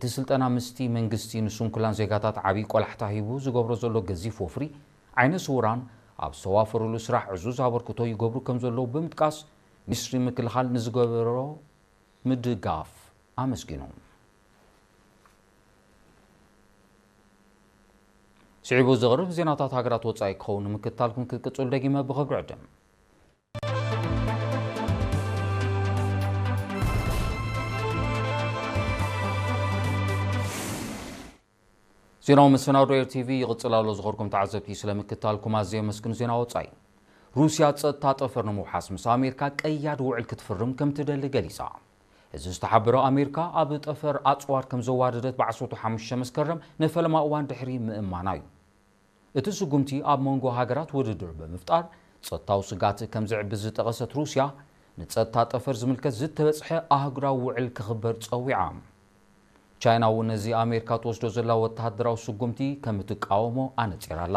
እቲ ስልጠና ምስቲ መንግስቲ ንስንኩላን ዜጋታት ዓብዪ ቆላሕታ ሂቡ ዝገብሮ ዘሎ ገዚፍ ወፍሪ ዓይነ ስውራን ኣብ ዝተዋፈሩሉ ስራሕ ዕዙዝ ኣበርክቶ ይገብሩ ከም ዘለዉ ብምጥቃስ፣ ሚኒስትሪ ምክልኻል ንዝገበሮ ምድጋፍ ኣመስጊኑ። ስዒቡ ዝቕርብ ዜናታት ሃገራት ወጻኢ ክኸውን ንምክትታልኩም ክትቅጽሉ ደጊመ ብኽብሪ ዕድም። ዜናዊ መሰናዶ ኤር ቲቪ ይቕጽል ኣሎ። ዝኸርኩም ተዓዘብቲ ስለምክትታልኩም ኣዝየ የመስግን። ዜና ወጻኢ። ሩስያ ጸጥታ ጠፈር ንምውሓስ ምስ ኣሜሪካ ቀያዲ ውዕል ክትፍርም ከም ትደሊ ገሊጻ። እዚ ዝተሓበረ ኣሜሪካ ኣብ ጠፈር ኣጽዋር ከም ዘዋደደት ብዓሰርተ ሓሙሽተ መስከረም ንፈለማ እዋን ድሕሪ ምእማና እዩ። እቲ ስጉምቲ ኣብ መንጎ ሃገራት ውድድር ብምፍጣር ጸጥታዊ ስጋት ከም ዝዕብስ ዝጠቐሰት ሩስያ፣ ንጸጥታ ጠፈር ዝምልከት ዝተበጽሐ ኣህጉራዊ ውዕል ክኽበር ጸዊዓ። ቻይና እውን ነዚ ኣሜሪካ ትወስዶ ዘላ ወተሃደራዊ ስጉምቲ ከም እትቃወሞ ኣነጺራ ኣላ።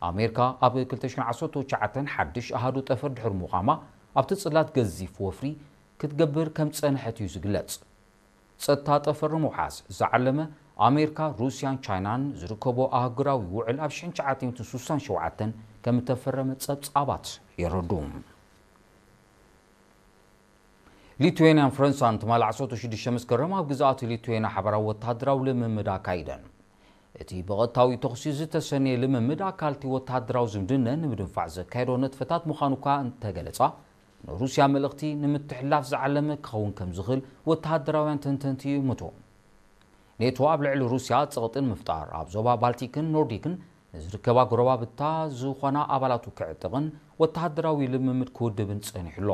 ኣሜሪካ ኣብ ክልተ ሽሕን ዓሰርተ ትሽዓተን ሓድሽ ኣሃዱ ጠፈር ድሕሪ ምዃማ ኣብቲ ጽላት ገዚፍ ወፍሪ ክትገብር ከም ጸንሐት እዩ ዝግለጽ። ጸጥታ ጠፈር ንምውሓስ ዝዓለመ ኣሜሪካ፣ ሩስያን ቻይናን ዝርከቦ ኣህጉራዊ ውዕል ኣብ ሽሕን ትሽዓተ ሚእትን ስሳን ሸውዓተን ከም እተፈረመ ጸብጻባት የረዱ። ሊቱዌንያን ፈረንሳን ትማሊ ዓሰርተ ሽዱሽተ መስከረም ኣብ ግዝኣት ሊቱዌንያ ሓባራዊ ወተሃደራዊ ልምምድ ኣካይደን። እቲ ብቐጥታዊ ተኹሲ ዝተሰነየ ልምምድ ኣካል እቲ ወተሃደራዊ ዝምድነን ንምድንፋዕ ዘካየዶ ንጥፈታት ምዃኑ እኳ እንተገለጻ፣ ንሩስያ መልእኽቲ ንምትሕልላፍ ዝዓለመ ክኸውን ከም ዝኽእል ወተሃደራውያን ተንተንቲ ይእምቱ። ኔቶ ኣብ ልዕሊ ሩስያ ጸቕጢ ንምፍጣር ኣብ ዞባ ባልቲክን ኖርዲክን ንዝርከባ ጎረባብታ ዝኾና ኣባላቱ ክዕጥቕን ወተሃደራዊ ልምምድ ክውድብን ጸኒሑ ኣሎ።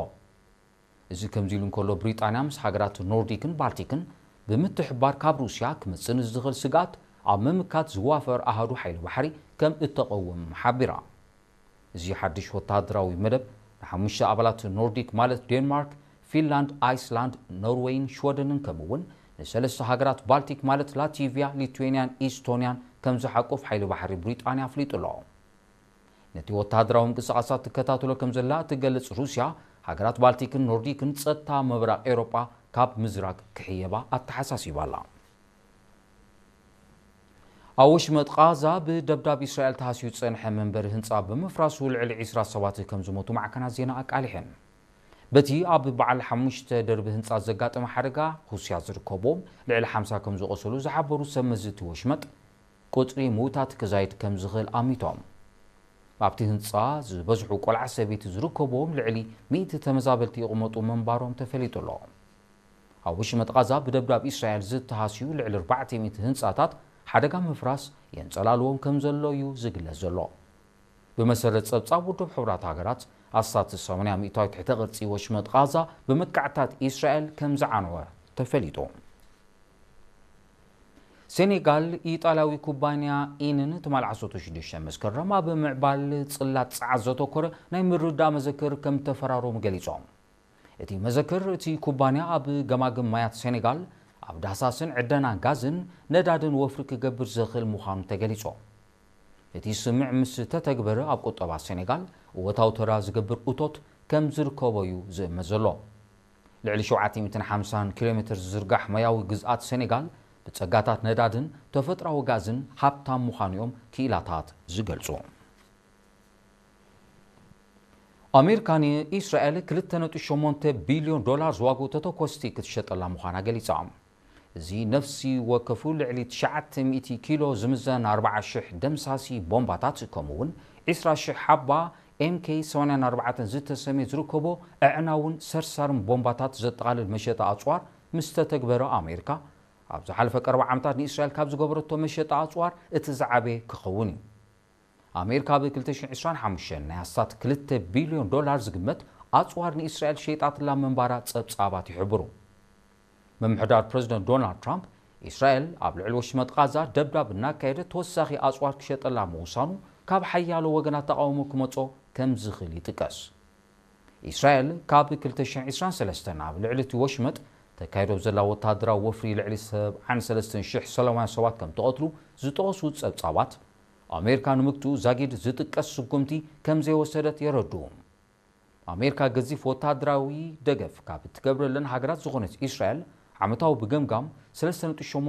እዚ ከምዚ ኢሉ እንከሎ፣ ብሪጣንያ ምስ ሃገራት ኖርዲክን ባልቲክን ብምትሕብባር ካብ ሩስያ ክመጽእ ንዝኽእል ስግኣት ኣብ ምምካት ዝዋፈር ኣሃዱ ሓይሊ ባሕሪ ከም እተቐውም ሓቢራ። እዚ ሓድሽ ወተሃደራዊ መደብ ንሓሙሽተ ኣባላት ኖርዲክ ማለት ዴንማርክ፣ ፊንላንድ፣ ኣይስላንድ፣ ኖርዌይን ሽወደንን ከምኡ እውን ንሰለስተ ሃገራት ባልቲክ ማለት ላቲቪያ፣ ሊቱዌንያን ኢስቶንያን ከም ዝሓቁፍ ሓይሊ ባሕሪ ብሪጣንያ ኣፍሊጡ ኣሎ። ነቲ ወተሃደራዊ ምንቅስቓሳት ትከታተሎ ከም ዘላ እትገልጽ ሩስያ፣ ሃገራት ባልቲክን ኖርዲክን ጸጥታ ምብራቕ ኤውሮጳ ካብ ምዝራግ ክሕየባ ኣተሓሳሲባ ኣላ። ኣብ ወሽመጥ ቓዛ ብደብዳብ እስራኤል ተሃስዩ ዝጸንሐ መንበሪ ህንጻ ብምፍራሱ ልዕሊ ዕስራ ሰባት ከም ዝሞቱ ማዕከናት ዜና ኣቃሊሐን። በቲ ኣብ በዓል ሓሙሽተ ደርቢ ህንጻ ዘጋጠመ ሓደጋ፣ ሩስያ ዝርከቦም ልዕሊ ሓምሳ ከም ዝቖሰሉ ዝሓበሩ ሰብ መዚ እቲ ወሽመጥ፣ ቁጽሪ ምዉታት ክዛይድ ከም ዝኽእል ኣሚቶም። ኣብቲ ህንጻ ዝበዝሑ ቆልዓ ሰበይቲ ዝርከብዎም ልዕሊ ሚእቲ ተመዛበልቲ ይቕመጡ ምንባሮም ተፈሊጡ ኣሎ። ኣብ ወሽመጥ ቓዛ ብደብዳብ እስራኤል ዝተሃስዩ ልዕሊ ኣርባዕተ ሚእቲ ህንጻታት ሓደጋ ምፍራስ የንጸላልዎም ከም ዘሎ እዩ ዝግለጽ ዘሎ። ብመሰረት ጸብጻብ ውድብ ሕቡራት ሃገራት፣ ኣስታት ሰማንያ ሚእታዊት ትሕተ ቅርጺ ወሽመጥ ቓዛ ብመጥቃዕትታት እስራኤል ከም ዝዓነወ ተፈሊጡ። ሴኔጋል፣ ኢጣልያዊ ኩባንያ ኢንን ትማሊ ዓሰርተ ሽዱሽተ መስከረም ኣብ ምዕባል ጽላት ጸዓት ዘተኮረ ናይ ምርዳእ መዘክር ከም ተፈራረሙ ገሊጾም። እቲ መዘክር፣ እቲ ኩባንያ ኣብ ገማግም ማያት ሴኔጋል ኣብ ዳህሳስን ዕደና ጋዝን ነዳድን ወፍሪ ክገብር ዝኽእል ምዃኑ ተገሊጹ። እቲ ስምምዕ ምስ ተተግበረ ኣብ ቁጠባ ሴኔጋል እወታዊ ተራ ዝገብር እቶት ከም ዝርከቦ እዩ ዝእመት ዘሎ። ልዕሊ ሸውዓተ ሚእትን ሓምሳን ኪሎ ሜትር ዝዝርጋሕ ማያዊ ግዝኣት ሴኔጋል ብጸጋታት ነዳድን ተፈጥሮኣዊ ጋዝን ሃብታም ምዃኑ እዮም ክኢላታት ዝገልጹ። ኣሜሪካ ንኢስራኤል ክልተ ነጥቢ ሸሞንተ ቢልዮን ዶላር ዝዋግኡ ተተኮስቲ ክትሸጠላ ምዃና ገሊጻ። እዚ ነፍሲ ወከፉ ልዕሊ ትሽዓተ ሚእቲ ኪሎ ዝምዘን ኣርባዓ ሽሕ ደምሳሲ ቦምባታት፣ ከምኡ እውን ዕስራ ሽሕ ሓባ ኤም ኬ ሰማንያን ኣርባዕተን ዝተሰምየ ዝርከቦ ኣዕናውን ሰርሳርን ቦምባታት ዘጠቓልል መሸጣ ኣጽዋር ምስ ተተግበረ፣ ኣሜሪካ ኣብ ዝሓለፈ ቀረባ ዓመታት ንእስራኤል ካብ ዝገበረቶ መሸጣ ኣጽዋር እቲ ዝዓበየ ክኸውን እዩ። ኣሜሪካ ብ ክልተ ሽሕን ዕስራን ሓሙሽተን ናይ ኣስታት ክልተ ቢልዮን ዶላር ዝግመት ኣጽዋር ንእስራኤል ሸይጣትላ ምንባራ ጸብጻባት ይሕብሩ። ምምሕዳር ፕረዚደንት ዶናልድ ትራምፕ፣ እስራኤል ኣብ ልዕሊ ወሽመጥ ቓዛ ደብዳብ እናካየደት ተወሳኺ ኣጽዋር ክሸጠላ ምውሳኑ ካብ ሓያሎ ወገናት ተቓውሞ ክመጾ ከም ዝኽእል ይጥቀስ። እስራኤል ካብ ክልተ ሽሕን ዕስራን ሰለስተን ኣብ ልዕሊ እቲ ወሽመጥ ተካይዶ ዘላ ወተሃደራዊ ወፍሪ ልዕሊ ሰብዓን ሰለስተን ሽሕ ሰላማውያን ሰባት ከም ተቐትሉ ዝጠቐሱ ጸብጻባት፣ ኣሜሪካ ንምግትኡ ዛጊድ ዝጥቀስ ስጉምቲ ከም ዘይወሰደት የረድኡ። ኣሜሪካ ገዚፍ ወተሃደራዊ ደገፍ ካብ እትገብረለን ሃገራት ዝኾነት እስራኤል፣ ዓመታዊ ብገምጋም ሰለስተ ነጥቢ ሸሞንተ